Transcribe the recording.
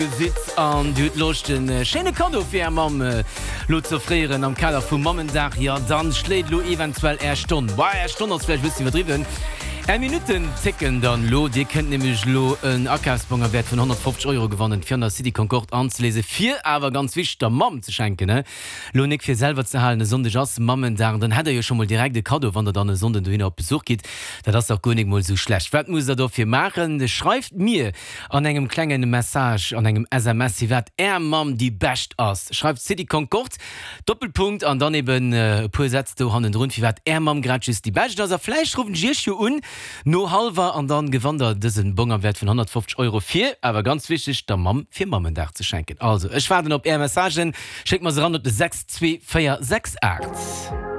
Gesitt an Dir hutt Loscht en schéine Kaddo fir Är Mamm lo ze offréieren am Kader vum Mammendag, jo dann schléit lo eventuell Är Stonn, bah Är Stonn ass vläicht e bëssen iwwerdriwwen, Är Minutten zécken dann lo. Dir kënnt nämlech lo en Akafsbong am Wäert vun 150 Euro gewannen fir an der City Concorde anzeléisen, fir awer ganz wichteg der Mamm ze schenken, he lo nik fir selwer ze halen. E Sonndeg ass Mammendag an dann hätt der jo scho mol direkt e Kaddo wann der dann e Sonnden dohinner op Besuch gitt. Dat ass dach guer nik mol sou schlecht. Wat musst der dofir maachen? Schreift mir An engem klengen Message, an engem SMS, firwat Är Mamm déi bescht ass. Schreift City Concorde, Doppelpunkt, an dann eben e puer Sätz do hannendrun, firwat Är Mamm grad just déi bescht ass. A vläicht ruffen ech Iech jo un no hallwer an dann gewannt der dësen Bong am Wäert vun 150 Euro fir, awer ganz wichteg, der Mamm fir Mammendag ze schenken. Also, ech waarden op Är Messagen, schéckt mer se ran op de 62468.